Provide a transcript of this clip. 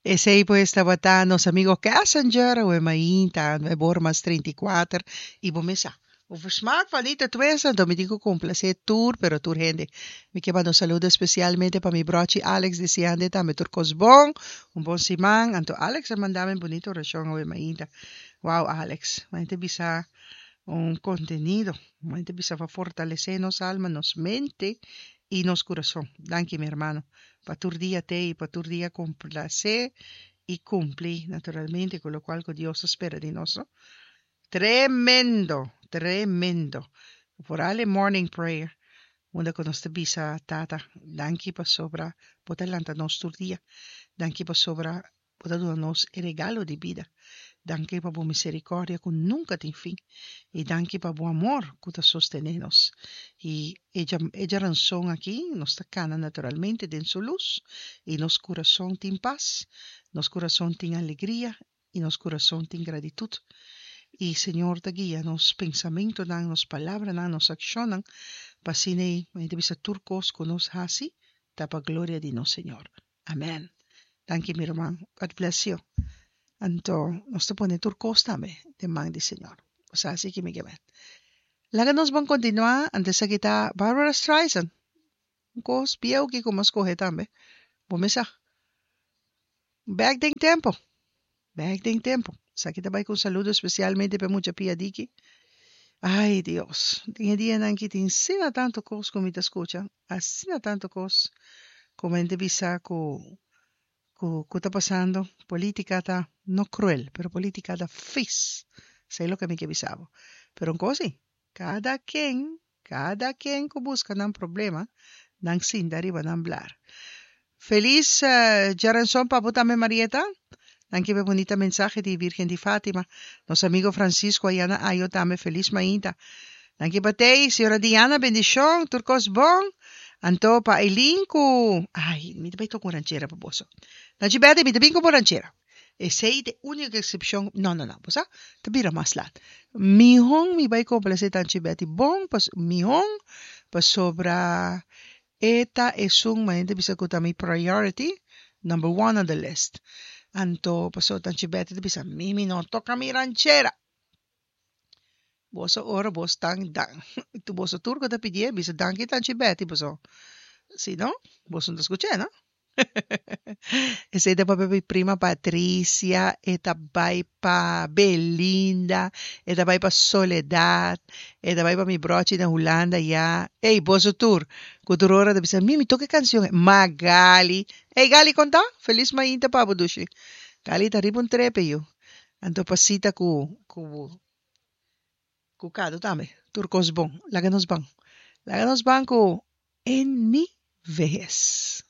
Esei pues tabata nos amigo Cassinger, awe mainta, nuebe or mas 34, i bo mes sa. Over smaak van niet te twisten, anto mi tin ku komplasé tur, pero tur hende. Mi ke manda un saludo espesialmente pa mi brochi Alex, deseando e tambe tur kos bon, un bon siman. Anto Alex a manda mi un bunita orashon awe mainta. Wow Alex, mi ta bisa un kontenido, mi ta bisa pa fortalesé nos alma, nos mente i nos kurason. Danki mi hermano. Pa tur dia t'ei i pa tur dia komplasé i kumpli naturalmente ku lokual ku Dios ta spera di nos, no? Tremendo! Tremendo! Vooral e morning prayer unda ku nos ta bisa Tata danki pasobra bo ta lanta nos tur dia, danki pasobra Bo ta duna nos e regalo di bida. Danki pa bo misericordia cu nunca tin fin. Y danki pa bo amor cu ta sostene nos. Y e e djaranson aki nos ta cana naturalmente den su luz y nos curason tin paz, nos curason tin alegria y nos curason tin gratitud. Y Señor ta guia nos pensamentonan, nos palabranan, nos accionnan pa asina ei ta bisa tur cos cu nos haci ta pa gloria di nos Señor. Amen. Danki mi ruman. God bless you. Anto nos ta pone tur kos tambe den man di Señor. Bo sa así ki mi ke men. Laga nos bon kontinuá. Anto esaki ta Barbara Streisand. Un kos bieu ki ku mi a skohe tambe. Bo mes sa. Bèk den tempu. Bèk den tempu. Esaki ta bai ku un saludo spesialmente pa e mucha pia diki. Ai Dios, den e dianan aki tin asina tantu kos ku mi ta skucha, asina tantu kos ku men ta bisa ku ku ku ta pasando. Politika ta no kruel, pero politika ta fis. Esei loke mi ke bisa bo. Pero un kos si, kada ken, kada ken ku buska nan problema, nan sinta riba nan blar. Felis djaranson pa bo tambe Marieta. Danki pa e bunita mensahe di Virgen di Fatima. Nos amigo Francisco aya na Ayo tambe felis mainta. Danki pa tei, señora Diana bendishon, tur kos bon. Anto pa Eileen ku ay mi ta bai toka un ranchera pa boso. Nachi Betty mi ta bin ku bo ranchera. Esei ta e úniko eksepshon, no no no, bo sa ta bira mas lat. Mihon mi bai komplasé Tanchi Betty bon pas mihon pasobra E ta esun manera ta bisa ku ta mi priority, number one on the list. Anto pasobra Tanchi Betty ta bisa, mi mi no toka mi ranchera. Boso ora bos tan dan boso tur ku ta pidié bisa danki Tanchi Betty pasobra si no boso no ta skuch'é no. Esei ta papia mi prima Patricia, e ta bai pa Belinda, e ta bai pa Soledad, e ta bai pa mi brochi na Hulanda ya. Ey, boso tur, ku tur ora ta bisa, Mimi, toka e kanshon ei. Magali, ey Gali kon ta? Felis mainta pa bo dushi. Gali ta riba un trepe yu. Anto pasita ku ku ku kado tambe. Tur kos bon. Laga nos ban. Laga nos ban ku En mi vehes.